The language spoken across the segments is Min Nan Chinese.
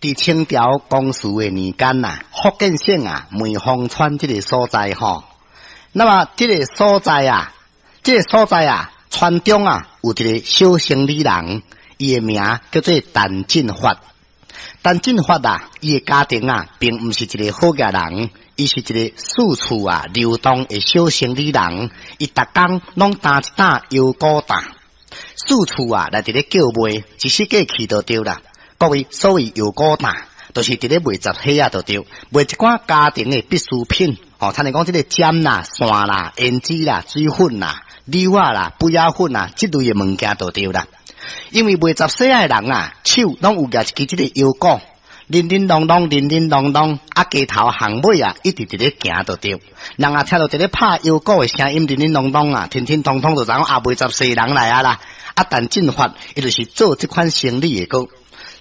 佇清朝光緒的年間啊，福建省啊梅芳村這个所在吼，那麼這个所在啊，這个所在啊，村中啊有一个小生理人，伊的名叫做陳進發。陳進發啊，伊的家庭啊，並毋是一个好額人，伊是一个四處啊流動的小生理人，伊逐工攏擔一擔腰鼓擔，四處啊來佇咧叫賣，一世過去就對啦。各位，所謂腰鼓擔，就是佇咧賣雜貨仔就對，賣一寡家庭的必需品，吼，親像講這个針啦、線啦、胭脂啦、水粉啦、柳仔啦、貝仔粉啦，這類的物件就對啦。因為賣雜貨仔的人啊，手攏有舉一支這个腰鼓，鈴鈴啷啷，鈴鈴啷啷，啊，街頭巷尾啊，一直佇咧行就對。人啊，聽著佇咧拍腰鼓的聲音，鈴鈴啷啷啊，聽聽通通就知影啊，賣雜貨人來啊啦。啊，陳進發伊就是做這款生理的歌。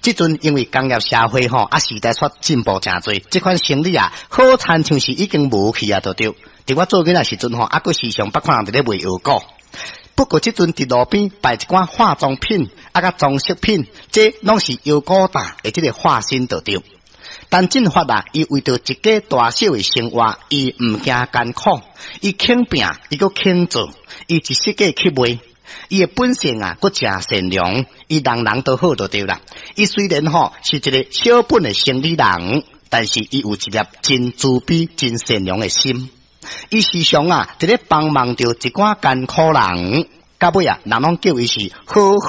這陣因為工業社會吼，啊時代煞進步誠濟，這款生理啊，好親像是已經無去啊，就對。佇我做囡仔時陣吼，啊閣時常捌看人佇咧賣腰鼓。不過這陣佇路邊擺一寡化妝品，啊佮裝飾品，這攏是腰鼓擔的這个化身就對。陳進發啊，伊為著一家大小的生活，伊毋驚艱苦，伊肯拚，伊閣肯做，伊一世界去賣。伊的本性啊，閣誠善良，伊人人都好就對啦。伊雖然吼是一个小本的生理人，但是伊有一粒真慈悲、真善良的心。伊時常啊，佇咧幫忙著一寡艱苦人，到尾啊，人攏叫伊是好好。